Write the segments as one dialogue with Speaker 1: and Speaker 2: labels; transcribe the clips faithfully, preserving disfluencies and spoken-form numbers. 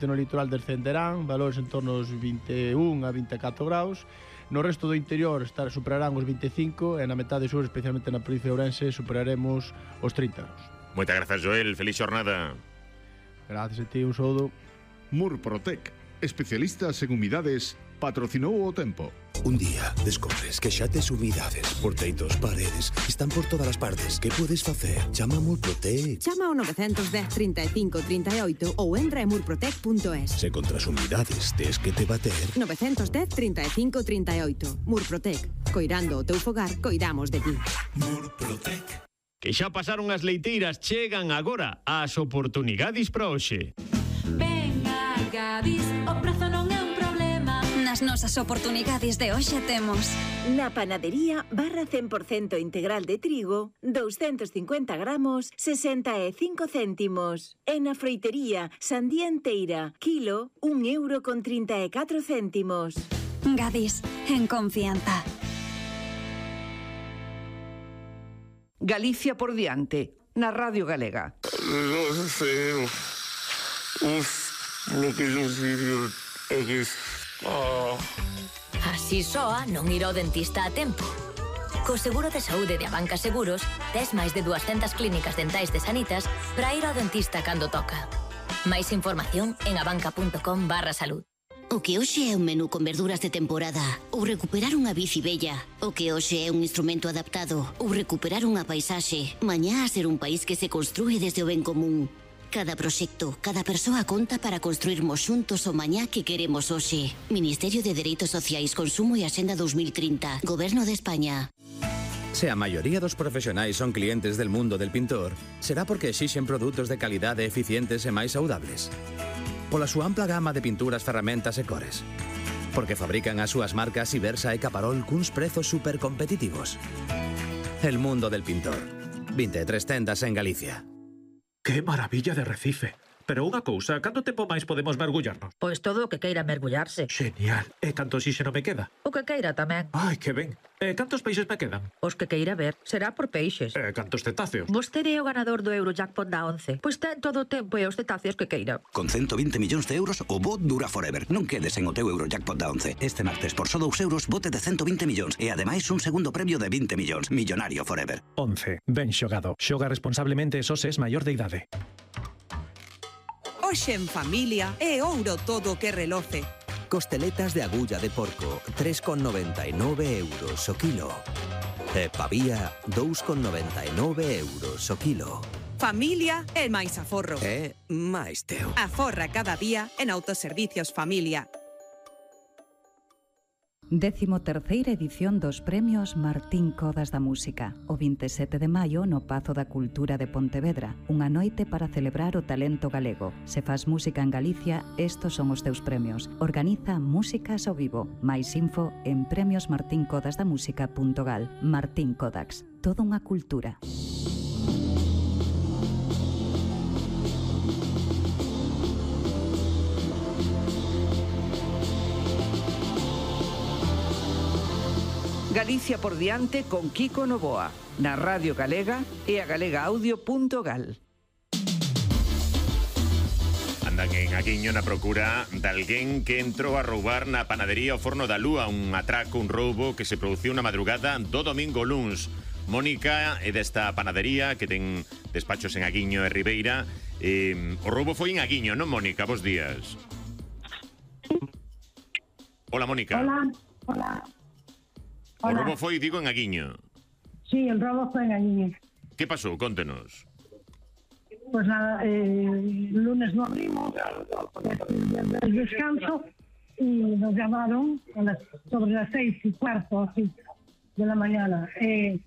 Speaker 1: No litoral descenderán, valores en torno aos vinte e un a vinte e catro graus. No resto do interior estar, superarán os vinte e cinco e na metade sur, especialmente na provincia de Ourense, superaremos os trinta graus.
Speaker 2: Moitas grazas, Joel. Feliz xornada.
Speaker 1: Gracias a ti, un saúdo.
Speaker 3: Murprotec, especialistas en humidades, patrocinou o tempo.
Speaker 4: Un día descobres que xa tes humidades por teitos, paredes, están por todas as partes. Que podes facer? Chama a Murprotec.
Speaker 5: Chama ao nove un cero, trinta e cinco, trinta e oito ou entra en murprotec punto es.
Speaker 4: Se contra as humidades tes que te bater.
Speaker 5: nove un cero, trinta e cinco, trinta e oito. Murprotec. Coirando o teu fogar, coidamos de ti.
Speaker 4: Murprotec.
Speaker 6: Que xa pasaron as leiteiras, chegan agora as oportunidades para hoxe.
Speaker 7: Venga, Gadis, o prazo non é un problema.
Speaker 8: Nas nosas oportunidades de hoxe temos
Speaker 9: na panadería barra cen por cento integral de trigo, doscientos cincuenta gramos, sesenta e cinco céntimos. E na froitería sandía enteira, kilo, un euro con trinta e catro céntimos.
Speaker 8: Gadis, en confianza.
Speaker 10: Galicia por diante, na Radio Galega.
Speaker 11: Non sei, uf, lo que non sei é que...
Speaker 12: Así soa non ir ao dentista a tempo. Co seguro de saúde de Abanca Seguros, tes máis de dúascentas clínicas dentais de Sanitas para ir ao dentista cando toca. Máis información en abanca punto com barra salud.
Speaker 13: O que hoxe é un menú con verduras de temporada ou recuperar unha bici bella. O que hoxe é un instrumento adaptado ou recuperar unha paisaxe. Mañá a ser un país que se construe desde o ben común. Cada proxecto, cada persoa conta para construirmos xuntos o mañá que queremos hoxe. Ministerio de Dereitos Sociais, Consumo e Axenda dos mil trinta. Goberno de España.
Speaker 14: Se a maioría dos profesionais son clientes del mundo del pintor, será porque exixen produtos de calidade eficientes e máis saudables. Pola súa ampla gama de pinturas, ferramentas e cores. Porque fabrican as súas marcas Ibersa e Caparol cuns prezos supercompetitivos. El mundo del pintor. vinte e tres tendas en Galicia.
Speaker 15: ¡Qué maravilla de Recife! Pero unha cousa, canto tempo máis podemos mergullarnos?
Speaker 16: Pois todo o que queira mergullarse.
Speaker 15: Genial. E canto oxíxeno me queda?
Speaker 16: O que queira tamén.
Speaker 15: Ai, que ben. E cantos peixes me quedan?
Speaker 16: Os que queira ver. Será por peixes.
Speaker 15: E cantos cetáceos?
Speaker 16: Vostede é o ganador do Eurojackpot da once. Pois ten todo o tempo e os cetáceos que queira.
Speaker 17: Con ciento vinte millóns de euros, o bot dura forever. Non quedes en o teu Eurojackpot da once. Este martes, por só dous euros, bote de ciento vinte millóns. E ademais, un segundo premio de vinte millóns. Millonario forever.
Speaker 15: once. Ben xogado. Xoga responsablemente e só se es maior de idade.
Speaker 18: Hoxe en familia é ouro todo o que reloce.
Speaker 19: Costeletas de agulla de porco, tres con noventa e nove euros o kilo. E pavía, dous con noventa e nove euros o kilo.
Speaker 18: Familia é máis aforro.
Speaker 19: É máis teu.
Speaker 18: Aforra cada día en Autoservicios Familia.
Speaker 20: Décimo terceira edición dos Premios Martín Codas da Música, o vinte e sete de maio no Pazo da Cultura de Pontevedra, unha noite para celebrar o talento galego. Se fas música en Galicia, estos son os teus premios. Organiza Músicas ao Vivo. Mais info en premios martín codas da música punto gal. Martín Codax, toda unha cultura.
Speaker 10: Galicia por diante con Kiko Novoa, na Radio Galega e a galega audio punto gal.
Speaker 2: Andan en Aguiño na procura de alguén que entrou a roubar na panadería o Forno da Lúa, un atraco, un roubo que se produciu na madrugada do domingo luns. Mónica é desta panadería que ten despachos en Aguiño e Ribeira. Eh, o roubo foi en Aguiño, non, Mónica? Bos días. Hola, Mónica.
Speaker 21: Hola, hola.
Speaker 2: O
Speaker 21: Hola.
Speaker 2: robo foi, digo, en Aguiño.
Speaker 21: Sí, el robo fue en Aguiño.
Speaker 2: Que pasou? Contenos.
Speaker 21: Pues nada, eh, lunes no abrimos, el descanso, y nos llamaron a las, sobre las seis y cuarto así, de la mañana. Eh,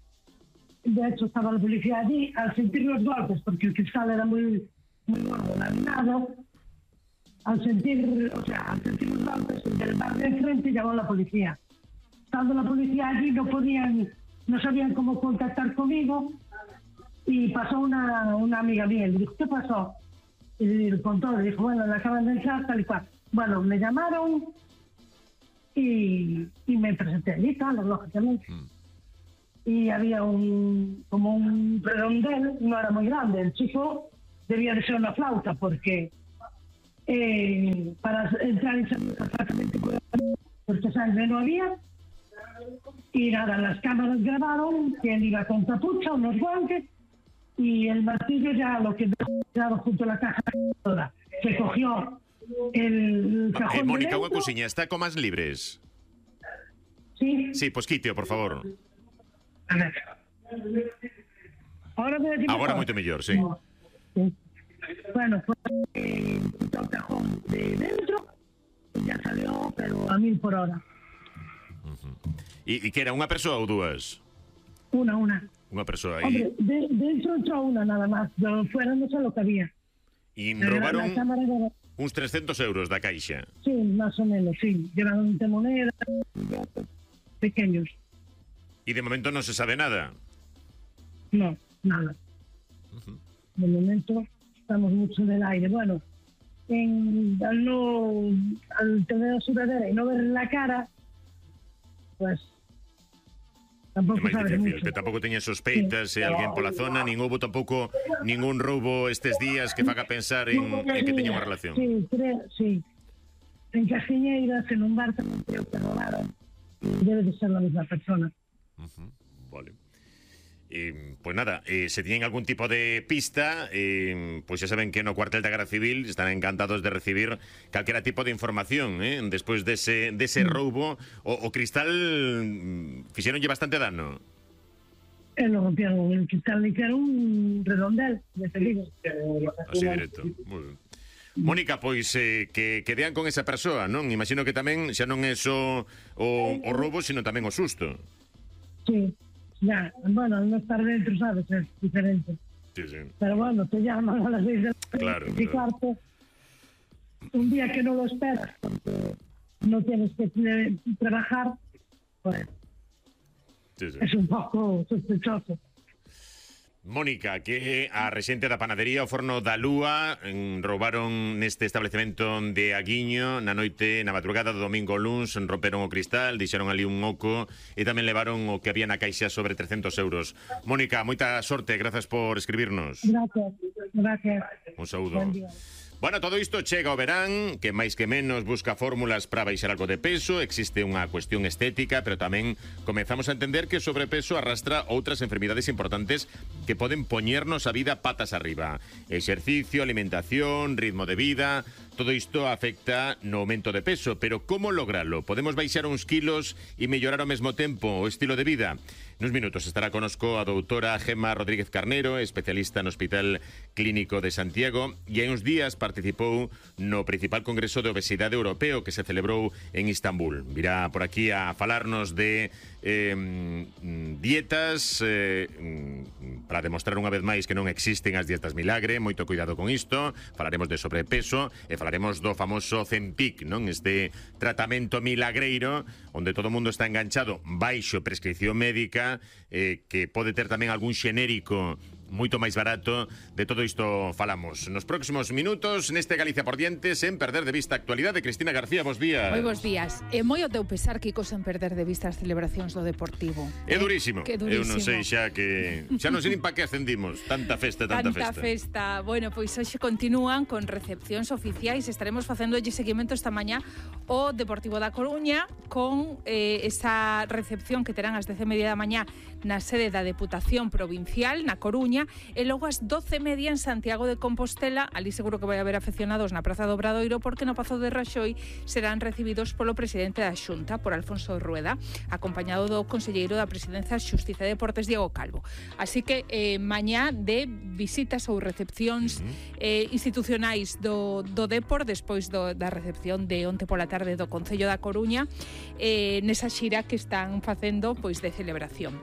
Speaker 21: de hecho, estaba la policía allí, al sentir los golpes, porque el cristal era muy, muy gordo, laminado, al sentir, o sea, al sentir los golpes del bar de enfrente, llamó la policía. Estando la policía allí, no podían, no sabían cómo contactar conmigo, y pasó una, una amiga mía, le dijo, ¿qué pasó? Y le contó, le dijo, bueno, le acaban de entrar, tal y cual. Bueno, me llamaron y, y me presenté allí, claro, lógicamente. Mm. Y había un, como un redondel, no era muy grande, el chico debía de ser una flauta, porque eh, para entrar y salir exactamente porque sangre no había. Y nada, las cámaras grabaron que él iba con capucha, unos guantes, y el martillo ya lo que dejó junto a la caja toda. Se cogió el cajón.
Speaker 2: Eh, Mónica,
Speaker 21: de
Speaker 2: unha cousiña, está con más libres?
Speaker 21: Sí.
Speaker 2: Sí, pues quíteo, por favor.
Speaker 21: A ver. Ahora me decimos.
Speaker 2: Agora moito mellor, sí.
Speaker 21: Sí. Bueno, pues eh, quitó el cajón de dentro y ya salió, pero a mil por hora.
Speaker 2: E uh-huh. que era unha persoa ou dúas?
Speaker 21: Una, una.
Speaker 2: Unha persoa.
Speaker 21: Hombre, de, dentro entró una nada más, pero fuera no sé lo que había.
Speaker 2: E
Speaker 21: Pero
Speaker 2: roubaron
Speaker 21: la cámara era...
Speaker 2: uns trescentos euros da caixa.
Speaker 21: Sí, más o menos, sí. Llevaron de moneda, pequeños.
Speaker 2: E de momento non se sabe nada.
Speaker 21: No, nada.
Speaker 2: Uh-huh.
Speaker 21: De momento estamos mucho en el aire. Bueno, en, al no al tener sudadera y no ver la cara, pues tampouco
Speaker 2: É máis
Speaker 21: sabes
Speaker 2: difícil,
Speaker 21: mucho.
Speaker 2: pero tampouco teña sospeitas se alguén pola zona, nin houbo tampouco ningún roubo estes días que faga pensar en, en que teña unha relación.
Speaker 21: Sí, creo, sí. En Castiñeiras, en un bar tamén creo que robaron. Debe de ser la misma persona.
Speaker 2: Uh-huh. Vale. Eh, pues nada, eh, se tienen algún tipo de pista, eh, pues ya saben que no cuartel da Garda Civil están encantados de recibir calquera tipo de información, eh, despois dese, dese roubo. O, o cristal mm, fixeronlle bastante dano.
Speaker 21: Eh, lo rompieron, el cristal le hicieron un redondel, de feliz.
Speaker 2: Así directo, moi ben. Mónica, pois eh, que, que dean con esa persoa, non? Imagino que tamén xa non é só o, o roubo, sino tamén o susto.
Speaker 21: Sí. Ya, bueno, no estar dentro, ¿sabes? Es diferente.
Speaker 2: Sí, sí.
Speaker 21: Pero bueno, te llaman a las seis de la tarde
Speaker 2: Claro,
Speaker 21: y claro. Un día que no lo esperas, porque no tienes que eh, trabajar, pues
Speaker 2: sí, sí.
Speaker 21: Es un pouco sospechoso.
Speaker 2: Mónica, que a rexente da panadería o Forno da Lúa en, roubaron neste establecemento de Aguiño na noite, na madrugada do domingo luns, romperon o cristal, deixaron ali un oco e tamén levaron o que había na caixa sobre trescentos euros. Mónica, moita sorte, grazas por escribirnos.
Speaker 21: Gracias, gracias.
Speaker 2: Un saúdo. Bueno, todo isto chega ao verán, que máis que menos busca fórmulas para baixar algo de peso, existe unha cuestión estética, pero tamén comezamos a entender que o sobrepeso arrastra outras enfermidades importantes que poden poñernos a vida patas arriba. Exercicio, alimentación, ritmo de vida, todo isto afecta no aumento de peso, pero como logralo? Podemos baixar uns kilos e mellorar ao mesmo tempo o estilo de vida? Nuns minutos estará conosco a doutora Gemma Rodríguez Carnero, especialista no Hospital Clínico de Santiago, e hai uns días participou no principal congreso de obesidade europeo que se celebrou en Istambul. Virá por aquí a falarnos de eh, dietas eh, para demostrar unha vez máis que non existen as dietas milagre. Moito cuidado con isto. Falaremos de sobrepeso e falaremos do famoso Zempic, non? Este tratamento milagreiro onde todo o mundo está enganchado baixo prescripción médica, eh, que pode ter tamén algún xenérico moito máis barato. De todo isto falamos nos próximos minutos neste Galicia por diante, sen perder de vista a actualidade. Cristina García, bos días.
Speaker 1: Moi bos días. E moi o teu pesar, Kiko, sen perder de vista as celebracións do Deportivo.
Speaker 2: É durísimo.
Speaker 1: Que durísimo.
Speaker 2: Eu non sei xa que xa non sei nin pa que ascendimos. Tanta festa, tanta,
Speaker 1: tanta festa. festa. Bueno, pois hoxe continúan con recepcións oficiais. Estaremos facéndolle seguimento esta mañá o Deportivo da Coruña con eh, esa recepción que terán ás dez e media da mañá na sede da Deputación Provincial na Coruña e logo ás doce e media en Santiago de Compostela. Ali seguro que vai haber afeccionados na Praza do Obradoiro, porque no Pazo de Raxoi serán recibidos polo presidente da Xunta, por Alfonso Rueda, acompañado do conselleiro da Presidencia, Xustiza e Deportes, Diego Calvo. Así que eh, mañá de visitas ou recepcións eh, institucionais do, do Depor, despois do, da recepción de onte pola tarde do Concello da Coruña, eh, nesa xira que están facendo pois de celebración.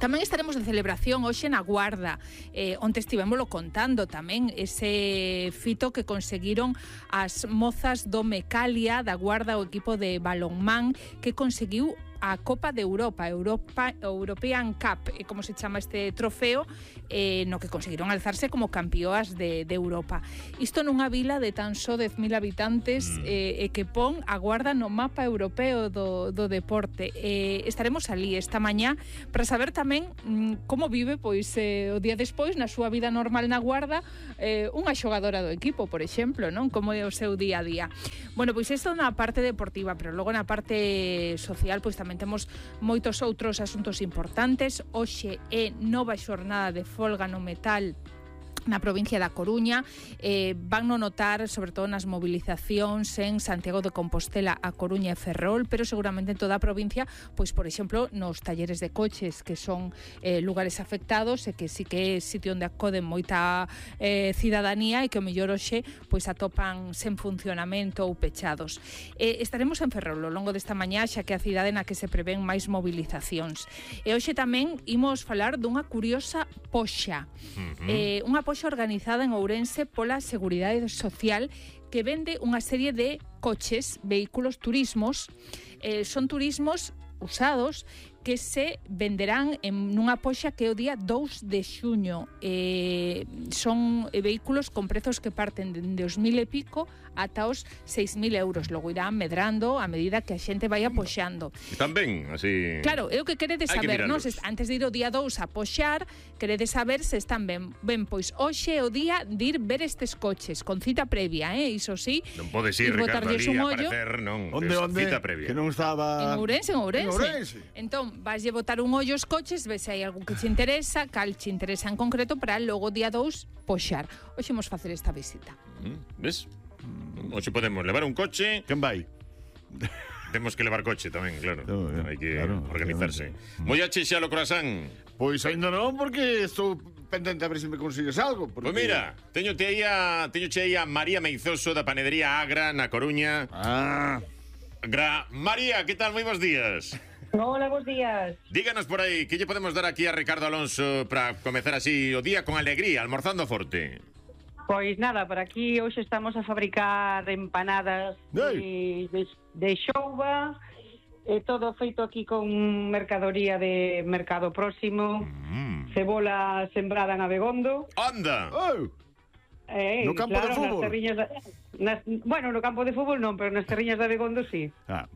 Speaker 1: Tamén estaremos de celebración hoxe na Guarda. Eh, onte estivémolo contando tamén ese fito que conseguiron as mozas do Mecalia da Guarda, o equipo de balonmán, que conseguiu a Copa de Europa, Europa European Cup, eh, como se chama este trofeo, eh, no que conseguiron alzarse como campeoas de, de Europa. Isto nunha vila de tan só dez mil habitantes, eh, e que pon a Guarda no mapa europeo do, do deporte. Eh, estaremos ali esta mañá para saber tamén mm, como vive pois eh, o día despois na súa vida normal na Guarda eh, unha xogadora do equipo, por exemplo, non? Como é o seu día a día. Bueno, pois isto na parte deportiva, pero logo na parte social pois tamén temos moitos outros asuntos importantes. Hoxe é nova xornada de folga no metal na provincia da Coruña. Eh, van no notar sobre todo nas movilizacións en Santiago de Compostela, A Coruña e Ferrol, pero seguramente en toda a provincia, pois por exemplo nos talleres de coches, que son eh, lugares afectados e que sí que é sitio onde acoden moita eh, cidadanía e que o mellor hoxe pois atopan sen funcionamento ou pechados. Eh, estaremos en Ferrol ao longo desta mañá, xa que a cidade na que se prevén máis movilizacións. E hoxe tamén imos falar dunha curiosa poxa. Uh-huh. Eh, unha poxa organizada en Ourense pola Seguridade Social, que vende unha serie de coches, vehículos, turismos. Eh, son turismos usados que se venderán en nunha poxa que é o día dous de xuño. Eh, son vehículos con prezos que parten de os mil e pico ata os seis mil euros. Logo irán medrando a medida que a xente vai apoxando.
Speaker 2: Están ben, así...
Speaker 1: Claro, é o que queredes saber, non? Antes de ir o día dous a poxar, queredes saber se están ben. Ben, pois hoxe é o día de ir ver estes coches, con cita previa, eh? Iso sí.
Speaker 2: Non podes ir, Ricardo, ali a aparecer, non.
Speaker 3: Onde, onde?
Speaker 2: Cita previa.
Speaker 3: Que non estaba...
Speaker 1: En Ourense, en Ourense.
Speaker 3: En Ourense.
Speaker 1: Entón, vaslle botar un ollo aos coches, ves se hai algún que te interesa, cal te interesa en concreto, para logo día dous poxar. Hoxe imos facer esta visita.
Speaker 2: Mm, ves? Hoxe podemos levar un coche.
Speaker 3: Quen vai?
Speaker 2: Temos que levar coche tamén, claro. No, hai que
Speaker 3: claro,
Speaker 2: organizarse.
Speaker 3: Claro.
Speaker 2: Mollache xa lo croissant?
Speaker 3: Pois ainda non, porque estou pendente a ver se me consigues algo. Porque...
Speaker 2: Pois mira, teño te aí a, teño che aí a María Meizoso da panadería Agra na Coruña.
Speaker 3: Ah.
Speaker 2: Gra María, que tal? Moi bons días.
Speaker 22: Hola, bons días.
Speaker 2: Díganos por aí, que lle podemos dar aquí a Ricardo Alonso para comezar así o día con alegría, almorzando forte?
Speaker 22: Pois nada, por aquí hoxe estamos a fabricar empanadas de, de, de xouba, e todo feito aquí con mercadoría de mercado próximo, mm. cebola sembrada en Abegondo.
Speaker 2: ¡Anda!
Speaker 3: Oh.
Speaker 22: Eh,
Speaker 3: no campo
Speaker 22: claro,
Speaker 3: de fútbol?
Speaker 22: Nas terriñas de, nas, bueno, no campo de fútbol non, pero nas terriñas de Abegondo sí.
Speaker 3: Ah,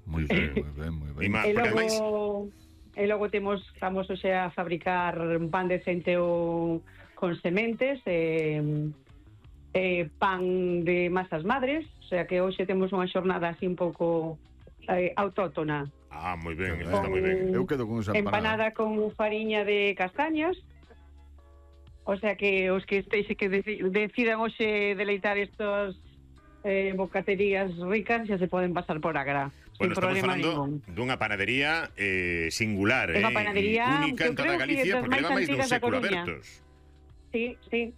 Speaker 3: moi ben, moi ben, moi ben.
Speaker 22: E logo, e logo temos, estamos hoxe a fabricar un pan de centeo con sementes e, e pan de masas madres, o sea que hoxe temos unha xornada así un pouco eh, autóctona.
Speaker 2: Ah, moi ben, está moi ben.
Speaker 3: Eu quedo con esa
Speaker 22: Empanada
Speaker 3: empanada.
Speaker 22: con fariña de castañas. O sea que os que estéis que deci decidan hoxe deleitar estos eh, bocaterías ricas xa se poden pasar por Agra.
Speaker 2: Bueno, estamos falando dunha panadería eh, singular,
Speaker 22: unha
Speaker 2: eh,
Speaker 22: panadería
Speaker 2: única en toda Galicia, porque leva máis dun século abertos.
Speaker 22: Sí, sí.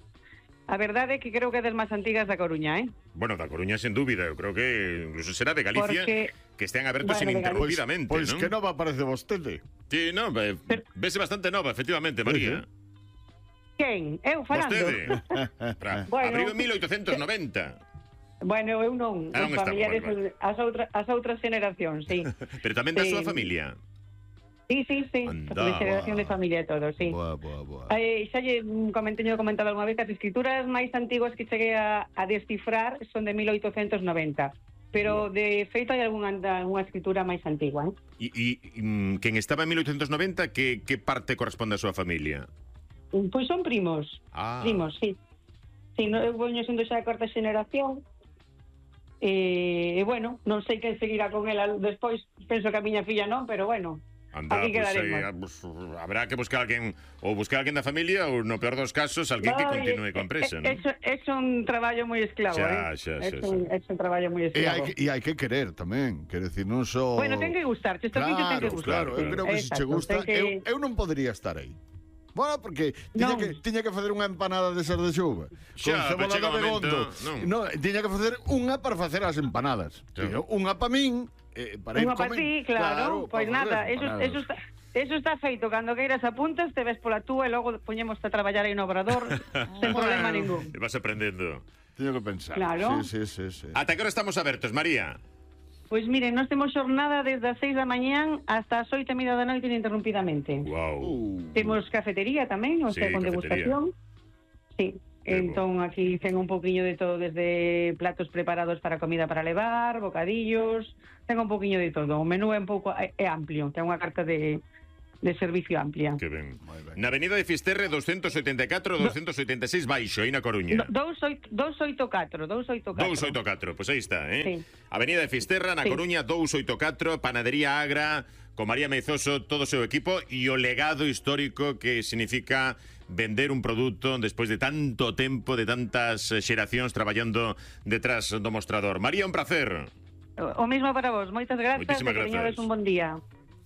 Speaker 22: A verdade é que creo que é das máis antigas da Coruña, eh?
Speaker 2: Bueno, da Coruña, sen dúbida. Eu creo que incluso será de Galicia,
Speaker 22: porque,
Speaker 2: que estean abertos
Speaker 22: bueno,
Speaker 2: ininterrumpidamente,
Speaker 3: Pois pues,
Speaker 2: ¿no?
Speaker 3: que nova parece vostede.
Speaker 2: Sí, no, ve, vese bastante nova, efectivamente, María.
Speaker 22: Quen? Eu falando?
Speaker 2: Vostede.
Speaker 22: Bueno,
Speaker 2: abriu en mil oitocentos noventa.
Speaker 22: Bueno, eu non,
Speaker 2: ah,
Speaker 22: os familiares, vale, vale. As, outra, as outras generacións, sí.
Speaker 2: Pero tamén da
Speaker 22: sí.
Speaker 2: súa familia?
Speaker 22: Sí, sí, sí,
Speaker 2: Anda,
Speaker 22: de generación de familia e todo, sí.
Speaker 3: Boa, boa, boa.
Speaker 22: Eh, xa lle comenteño comentado algunha vez que as escrituras máis antiguas que cheguei a, a descifrar son de mil oitocentos noventa. Pero de feito hai algunha, algunha escritura máis antigua, eh?
Speaker 2: E, e quen estaba en mil oitocentos noventa, que, que parte corresponde á súa familia?
Speaker 22: Pois son primos,
Speaker 2: ah.
Speaker 22: primos, sí. Sí, no, eu voño sendo xa a cuarta xeneración. E, eh, bueno, non sei quen seguirá con ela despois, penso que a miña filla non, pero bueno,
Speaker 2: anda,
Speaker 22: aquí
Speaker 2: pues,
Speaker 22: quedaremos.
Speaker 2: Eh, pues, habrá que buscar alguén, ou buscar alguén da familia, ou no peor dos casos, alguén no, que continue con presa,
Speaker 22: ¿no? É, é un traballo moi esclavo,
Speaker 2: xa,
Speaker 22: eh?
Speaker 2: xa,
Speaker 22: é,
Speaker 2: xa,
Speaker 22: un, é un traballo moi esclavo.
Speaker 3: E hai que querer tamén, quero dicir, non só...
Speaker 22: Bueno, ten que gustar, este
Speaker 3: claro,
Speaker 22: ten que gustar.
Speaker 3: Claro, eu creo que se che gusta, que... eu, eu non podería estar aí. Bueno, porque tiña que, tiña que facer unha empanada de ser de xuva
Speaker 2: xa,
Speaker 3: con cebola de Begondo. No, tiña que facer unha para facer as empanadas. Sí. Unha para min, eh, para ir
Speaker 22: unha para ti, claro. Pois pues nada, eso, eso, está, eso está feito. Cando queiras apuntas, te ves pola túa e logo poñemos a traballar aí no obrador sen problema ningún.
Speaker 2: E vas aprendendo.
Speaker 3: Teño que pensar.
Speaker 22: Claro.
Speaker 3: Sí, sí, sí, sí.
Speaker 2: Ata que hora estamos abertos, María?
Speaker 22: Pois miren, nós temos xornada desde as seis da mañán hasta as oito e media da noite ininterrumpidamente.
Speaker 2: Wow.
Speaker 22: Temos cafetería tamén, o
Speaker 2: Sí,
Speaker 22: sea, con
Speaker 2: cafetería.
Speaker 22: degustación. Sí, entón aquí ten un poquinho de todo, desde platos preparados para comida para levar, bocadillos, ten un poquinho de todo. O menú é un pouco é, é amplio, ten unha carta de de servicio amplia.
Speaker 2: Que ben. Na Avenida de Fisterre doscientos ochenta y cuatro, doscientos ochenta y seis baixo, aí na Coruña.
Speaker 22: doscientos ochenta y cuatro, doscientos ochenta y cuatro.
Speaker 2: doscientos ochenta y cuatro, pois aí está, eh?
Speaker 22: Sí.
Speaker 2: Avenida de Fisterra, na
Speaker 22: Sí.
Speaker 2: Coruña, doscientos ochenta y cuatro, Panadería Agra, con María Meizoso, todo o seu equipo, e o legado histórico que significa vender un produto despois de tanto tempo, de tantas eh, xeracións traballando detrás do mostrador. María, un placer.
Speaker 22: O mismo para vos, moitas grazas,
Speaker 2: Moitísimas
Speaker 22: e que
Speaker 2: gracias.
Speaker 22: teñades un bon día.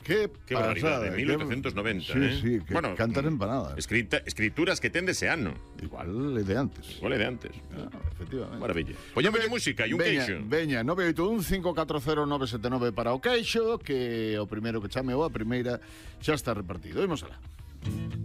Speaker 3: Qué,
Speaker 2: Qué barbaridade, mil ochocientos noventa,
Speaker 3: sí,
Speaker 2: eh?
Speaker 3: Sí, que
Speaker 2: bueno,
Speaker 3: cantar empanadas.
Speaker 2: Escrita, escrituras que ten dese ano.
Speaker 3: Igual é de antes.
Speaker 2: Igual é de antes.
Speaker 3: Ah, efectivamente.
Speaker 2: Maravilla. Poñámolle música e un
Speaker 3: Veña,
Speaker 2: queixo.
Speaker 3: Veña, nove oito un, cinco catro cero, nove sete nove para o queixo, que o primeiro que chame ou a primeira xa está repartido. Imos alá.